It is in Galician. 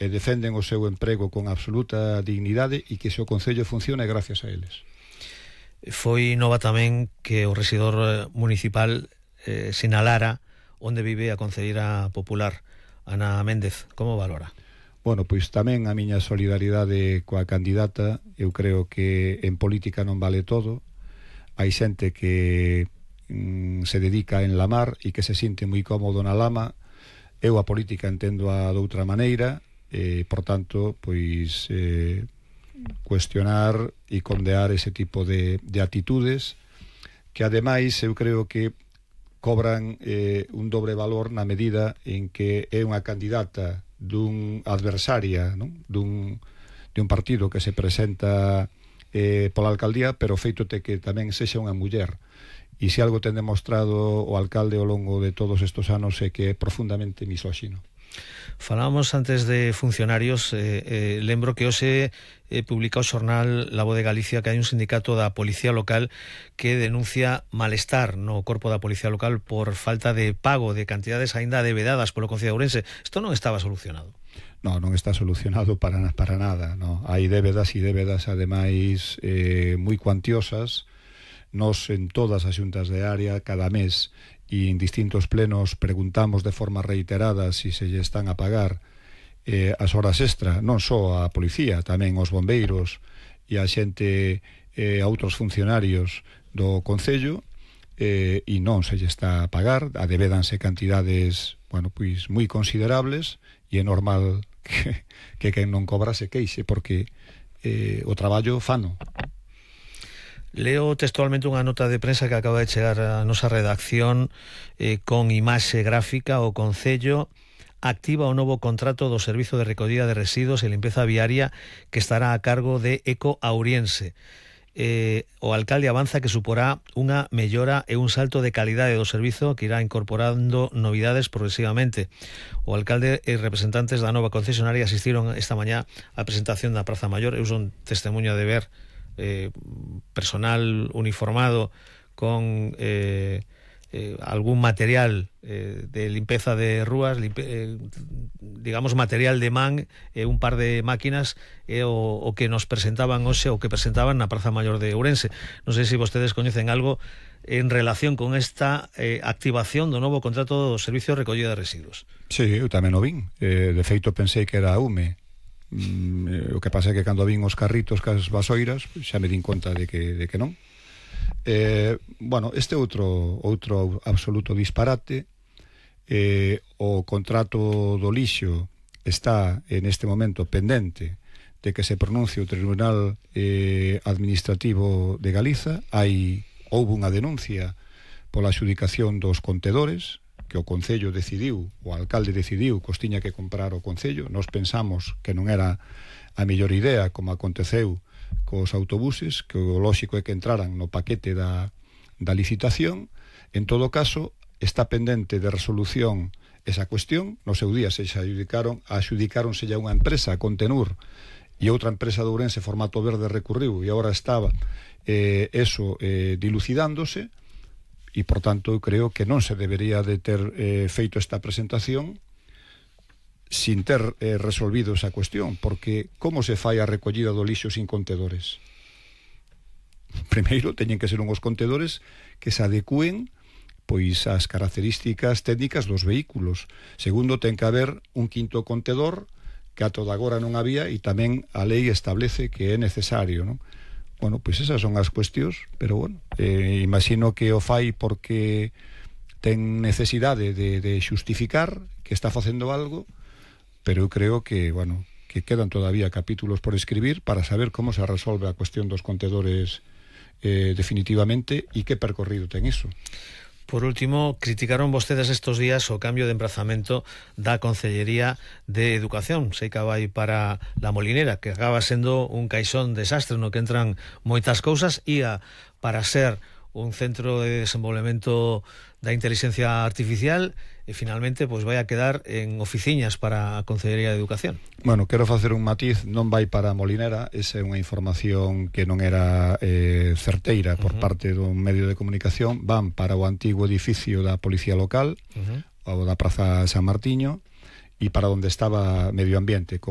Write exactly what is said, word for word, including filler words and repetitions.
e defenden o seu emprego con absoluta dignidade e que se o Concello funcione gracias a eles. Foi nova tamén que o rexedor municipal eh, sinalara onde vive a concelleira popular Ana Méndez. Como valora? Bueno, pois tamén a miña solidaridade coa candidata. Eu creo que en política non vale todo. Hai xente que mm, se dedica a enlamar e que se sinte moi cómodo na lama. Eu a política entendo a doutra maneira, e, por tanto, pois eh, cuestionar e condear ese tipo de, de actitudes que, ademais, eu creo que cobran eh, un dobre valor na medida en que é unha candidata dun adversaria, non? Dun, de un partido que se presenta eh, pola alcaldía, pero feito te que tamén sexa unha muller. E se algo ten demostrado o alcalde ao longo de todos estos anos é que é profundamente misóxino. Falábamos antes de funcionarios, eh, eh, lembro que hoxe eh, publica o xornal La Voz de Galicia que hai un sindicato da Policía Local que denuncia malestar no corpo da Policía Local por falta de pago de cantidades aínda debedadas polo Concello de Ourense. Isto non estaba solucionado. No, non está solucionado para, para nada, no. Hai débedas e débedas ademais eh, moi cuantiosas. Nos en todas as xuntas de área cada mes e en distintos plenos preguntamos de forma reiterada se si se lle están a pagar eh, as horas extra, non só a policía, tamén os bombeiros e a xente, eh, a outros funcionarios do Concello, eh, e non se lle está a pagar, adevédanse cantidades, bueno, pois moi considerables, e é normal que, que quen non cobra se queixe, porque eh, o traballo fano. Leo textualmente unha nota de prensa que acaba de chegar a nosa redacción eh, con imaxe gráfica. O Concello activa o novo contrato do Servizo de Recollida de Residuos e Limpeza Viaria que estará a cargo de Eco Auriense. Eh, o alcalde avanza que suporá unha mellora e un salto de calidade do servizo que irá incorporando novidades progresivamente. O alcalde e representantes da nova concesionaria asistiron esta mañá á presentación da Praza Maior. Eu son testemunha de ver Eh, personal uniformado con eh, eh, algún material eh, de limpeza de rúas, limpe, eh, digamos material de man, eh, un par de máquinas eh, o, o que nos presentaban hoxe, o que presentaban na Praza Maior de Ourense. Non sei se vostedes coñecen algo en relación con esta eh, activación do novo contrato do Servicio de Recollida de Residuos. Sí, eu tamén o vin. Eh, de feito pensei que era a U M E. Mm, o que pasa é que cando vin os carritos cas vasoiras xa me din conta de que, de que non. Eh, bueno, este outro outro absoluto disparate. Eh, o contrato do lixo está en este momento pendente de que se pronuncie o Tribunal eh, Administrativo de Galiza. Hai houve unha denuncia pola adxudicación dos contedores que o Concello decidiu, o alcalde decidiu que os tiña que comprar o Concello. Nós pensamos que non era a mellor idea, como aconteceu cos autobuses, que o lóxico é que entraran no paquete da, da licitación. En todo caso, está pendente de resolución esa cuestión. No seu día se adjudicaron, adjudicáronse ya unha empresa, Contenur, e outra empresa de Ourense, Formato Verde, recurriu, e agora estaba eh, eso eh, dilucidándose. E, por tanto, eu creo que non se debería de ter eh, feito esta presentación sin ter eh, resolvido esa cuestión, porque como se fai a recollida do lixo sin contedores? Primeiro, teñen que ser unhos contedores que se adecúen pois ás características técnicas dos vehículos. Segundo, ten que haber un quinto contedor que a toda agora non había, e tamén a lei establece que é necesario, non? Bueno, pois esas son as cuestións, pero bueno, eh, imagino que o fai porque ten necesidade de, de xustificar que está facendo algo, pero eu creo que, bueno, que quedan todavía capítulos por escribir para saber como se resolve a cuestión dos contedores eh, definitivamente e que percorrido ten iso. Por último, criticaron vostedes estos días o cambio de emprazamento da Concellería de Educación. Sei que vai para La Molinera, que acaba sendo un caixón desastre no que entran moitas cousas, ia para ser un centro de desenvolvemento da inteligencia artificial e finalmente pois vai a quedar en oficiñas para a Concellería de Educación. Bueno, quero facer un matiz, non vai para a Molinera, esa é unha información que non era eh, certeira por uh-huh. parte dun medio de comunicación. Van para o antigo edificio da Policía Local, uh-huh. ou da Praza San Martiño, e para onde estaba Medio Ambiente, como